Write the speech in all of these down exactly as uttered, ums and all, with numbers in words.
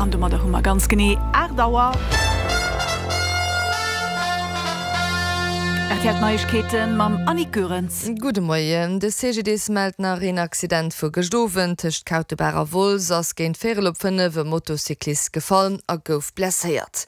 An domadder hu mer ganz genee aacht Auer. R T L Neiegkeeten mam Annick Goerens. Gudde Moien. De C G D S mellt nach een Accident vu gëscht Owend. Tëscht Kautebaach a Wolz ass géint véierel op fënnef e Motocyclist gefall a gouf blesséiert.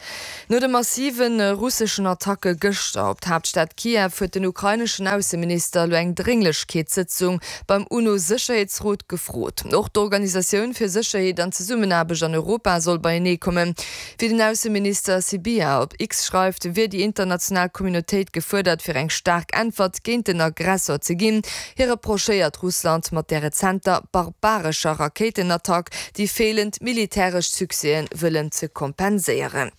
No de massive russeschen Attacke gëschter op d'Haaptstad Kiew huet den ukraineschen Ausseminister elo eng Drénglechkeetssëtzung beim UNO-Sécherheetsrot gefrot. Och d'Organisatioun fir Sécherheet an Zesummenaarbecht an Europa soll beienee kommen. Wéi den Ausseminister Sybiha op X schreift, wier déi international Communautéit gefuerdert, fir eng staark Äntwert géint den Aggressor ze ginn. Hie reprochéiert Russland mat der rezenter barbarescher Rakéitenattack déi feelend militäresch Succèsen wëllen ze kompenséieren.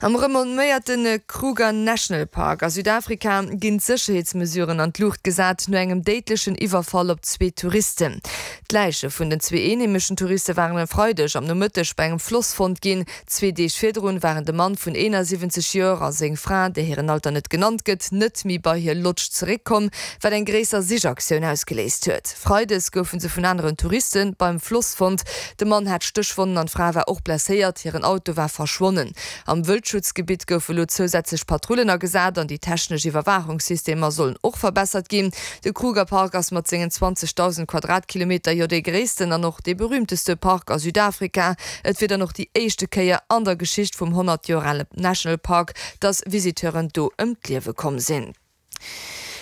Am renomméierte Kruger National Park a Südafrika ginn d'Sécherheetsmesuren an d'Luucht gesat no engem déidlechen Iwwerfall op zwee Touristen. D'Läiche vun den zwee eenheemeschen Touriste waren e Freideg am Nomëtteg bei engem Floss fonnt ginn. Zwee Deeg virdrun waren de Mann vun eenasiwwenzeg Joer a seng Fra, där hiren Alter net genannt gëtt, net méi bei hir Lodge zeréckkomm, wat eng gréisser Sichaktioun ausgeléist huet. Freides goufe se vun aneren Touriste beim Floss fonnt. De Mann hat Stéchwonnen an d'Fra war och blesséiert, hiren Auto war verschwonnen. Am Wëldschutzgebitt goufe lo zousätzlech Patrullen agesat an déi technesch Iwwerwaachungssystemer sollen och verbessert ginn. De Kruger Park ass mat sengen zwanzegdausend Quadratkilometer jo dee gréissten an och dee berüümteste Park a Südafrika. Et wier dann och déi éischte Kéier an der Geschicht vum honnert Joer ale National Park, dass Visiteuren do ëm d'Liewe komm sinn.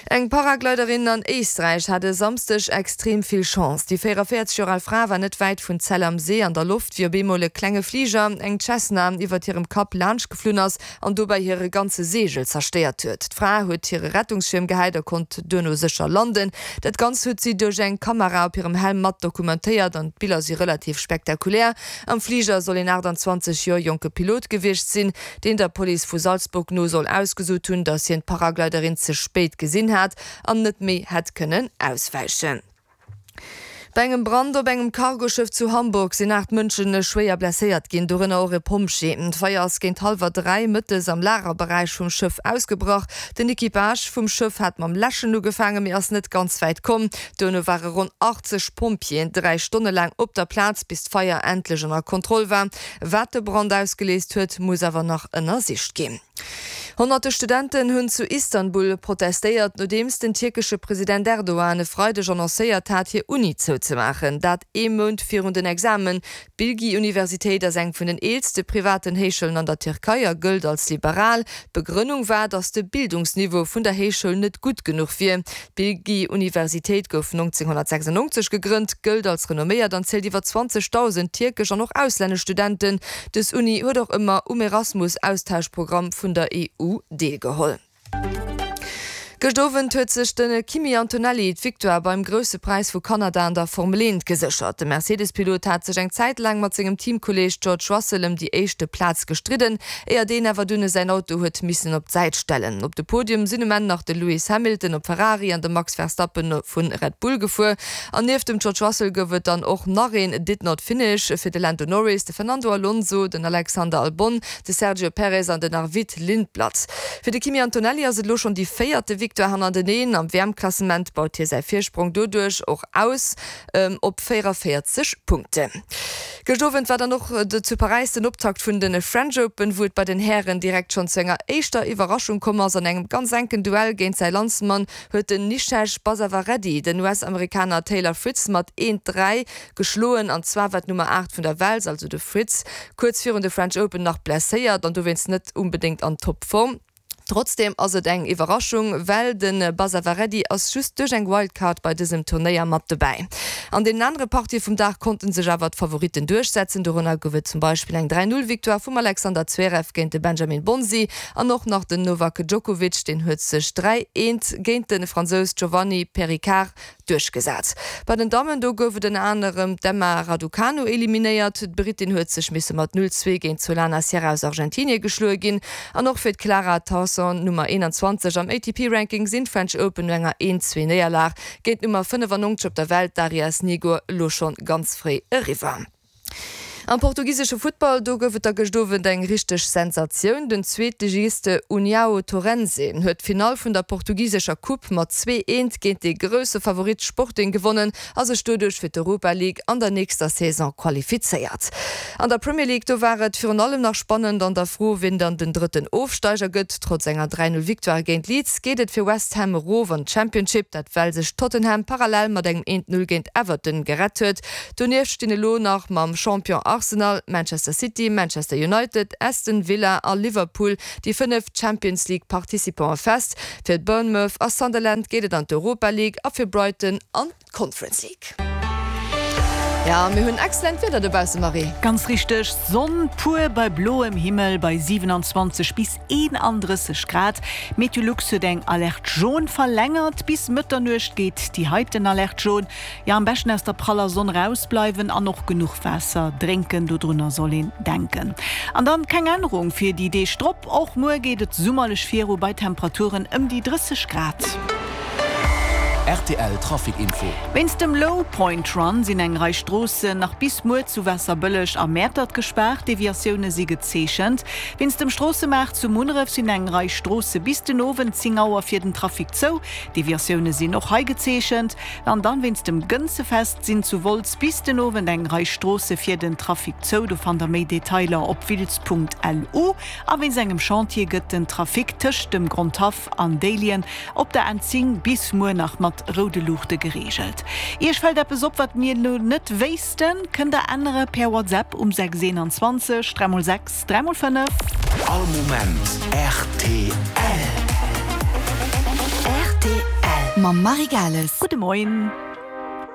Eng Paragliderin an Éisträich hat e Samsdeg extrem vill Chance. Déi véieranvéierzeg Joer al Fra war net wäit vun Zell am See an der Loft, wéi op eemol e klenge Fliger, eng Cessna, iwwert hirem Kapp laanscht geflunn ass an dobäi hire ganze Seegel zerstéiert huet. D'Fra huet hire Rettungsschierm gehäit a konnt duerno sécher landen. Dat Ganzt huet si duerch eng Kamera op hirem Helm mat dokumentéiert an d'Biller si relativ spektakulär. Am Fliger soll een aachtanzwanzeg Joer jonke Pilot gewiescht sinn, deen der Police vu Salzburg no soll ausgesot hunn, datt hien d'Paragliderin ze spéit gesinn hat an net méi hätt kënnen auswäichen. Bei engem Brand op engem Cargoschëff zu Hamburg sinn aacht Mënsche schwéier blesséiert ginn, dorënner och e Pompjee. D'Feier ass géint hallwer dräi mëttes am Lagerberäich vum Schëff ausgebrach. Den Equipage vum Schëff hat mam Läschen ugefaangen, mee ass net ganz wäit komm. Duerno ware ronn achtzeg Pompjeeën dräi Stonne laang op der Plaz, bis d'Feier endlech ënner Kontroll war. Wat de Brand ausgeléist huet, muss awer nach ënnersicht ginn. Honnerte Studenten hunn zu Istanbul protestéiert, nodeems den tierkesche President Erdogan e Freideg annoncéiert hat, hir Uni zouzemaachen. Dat ee Mount virun den Examen. D'Bilgi-Universitéit ass eng vun den eelste privaten Héichschoulen an der Tierkei a gëllt als liberal. D'Begrënnung war, datt de Bildungsniveau vun der Héichschoul net gutt genuch wier. D'Bilgi-Universitéit gouf nonzénghonnertsechsannonzeg gegrënnt, gëllt als renomméiert an zielt iwwer zwanzegdausend tierkesch an och auslännesch Studenten. Dës Uni huet och ëmmer um Erasmus-Austauschprogramm vun der E U deelgeholl. Gëscht Owend huet sech de Kimi Antonelli d'Victoire beim Grousse Präis vu Kanada an der Formel eent geséchert. De Mercedes-Pilot hat sech eng Zäit laang mat sengem Teamkolleeg George Russell ëm déi éischte Plaz gestridden, éier deen awer dunn säin Auto huet missen op d'Säit stellen. Op de Podium sinn um Enn nach de Lewis Hamilton op Ferrari an de Max Verstappen vu Red Bull gefuer. An nieft dem George Russell gouf et dann och nach een Did Not Finish fir de Lando Norris, de Fernando Alonso, den Alexander Albon, de Sergio Perez an den Arvid Lindblad. Fir de Kimi Antonelli ass et elo schonn déi véierte Victoire hannerteneen. Am W M-Klassement baut hie säi Virsprong doduerch och aus op véieranvéierzeg Punkten. Gëscht Owend war dann och zu Paräis den Optakt vun de French Open, wou et bei den Hären direkt schonn zu enger éischter Iwwerraschung komm ass. An engem ganz enken Duell géint säi Landsmann huet den Nishesh Basavareddy den U S-Amerikaner Taylor Fritz mat eent, dräi geschloen. An zwar war d'Nummer aacht vun der Welt, also de Fritz, kuerz virun de French Open nach blesséiert an dowéinst net onbedéngt an Topform. Trotzdeem ass et eng Iwwerraschung, well de Basavareddy ass just duerch eng Wildcard bei dësem Turnéier mat dobäi. An deenen anere Partië vum Dag konnte sech awer d'Favoritten duerchsetzen. Dorënner gouf et zum Beispill eng dräi null Victoire vum Alexander Zverev géint de Benjamin Bonzi an och nach den Novak Djokovic, deen huet sech dräi eent géint de Fransous Giovanni Pericard duerchgesat. Bei den Dammen do gouf et ënner anerem d'Emma Raducanu eliminéiert. D'Brittin huet sech misse mat null zwee géint d'Solana Sierra aus Argentinie geschloe ginn. An och fir d'Clara Tauson, Nummer eenanzwanzeg am A T P-Ranking, sinn d'French Open no enger eent zwee Néierlag géint d'Nummer fënnefannonzeg op der Welt, d'Daria Snigur, elo schonn ganz fréi eriwwer. Am portugisesche Futtball, do gouf et da gëscht Owend eng richteg Sensatioun, Den Zweetligist Uniao Torrense huet d'Finall vun der portugisescher Coupe mat zwee eent géint de grousse Favorit Sporting gewonnen a sech doduerch fir d'Europa League an der nächster Saison qualifizéiert. An der Premier League, do war et virun allem nach spannend an der Fro, wien dann den drëtten Ofsteiger gëtt. Trotz enger dräi Null Victoire géint Leeds geet et fir West Ham erof an d'Championship, dat well sech Tottenham parallel mat engem eent Null géint Everton gerett huet. Donieft stinn elo nach mam Champion Arsenal, Manchester City, Manchester United, Aston Villa a Liverpool déi fënnef Champions League Participante fest. Fir Bournemouth a Sunderland geet et an d'Europa League a fir Brighton an d'Conference League. Jo, mir hunn excellent Wieder dobausse, Marie. Ganz richteg, Sonn pur bei bloem Himmel bei siwenanzwanzeg bis eenandrësseg Grad. Meteolux huet eng Alerte jaune verlängert. Bis Mëtternuecht geet déi heiten Alerte jaune. Jo, am beschten aus der praller Sonn rausbleiwen an och genuch Waasser drénken, dodrunner soll een denken. An dann keng Ännerung fir déi Deeg drop, och muer geet et summerlech viru bei Temperaturen ëm déi drësseg Grad. Rtl Trafic Info. Wéinst dem Low Point Run sinn eng Rei Stroossen nach bis muer zu Waasserbëlleg a Mäertert gespaart, Deviatioune si gezeechent. Wéinst dem Stroossemaart zu Munneref sinn eng Rei Stroosse bis den Owend zéng Auer fir den Trafic zou, Deviatioune sinn och hei gezeechent. An dann wéinst dem Gënzefest sinn zu Wolz bis den Owend eng Rei Stroosse fir den Trafic zou. Do fannt der méi Detailer op wiltz.lu. A wéinst engem Chantier gëtt den Trafic tëscht dem Grondhaff an Déiljen op der N zéng bis muer nach mat roude Luuchte gereegelt. Iech fält eppes op, wat mir elo net wéissten? Kënnt der ännere per WhatsApp um sechs eenanzwanzeg dräi mol sechs dräi mol fënnef. All Moment rtl. Rtl mam Marie Gales. Gudde Moien.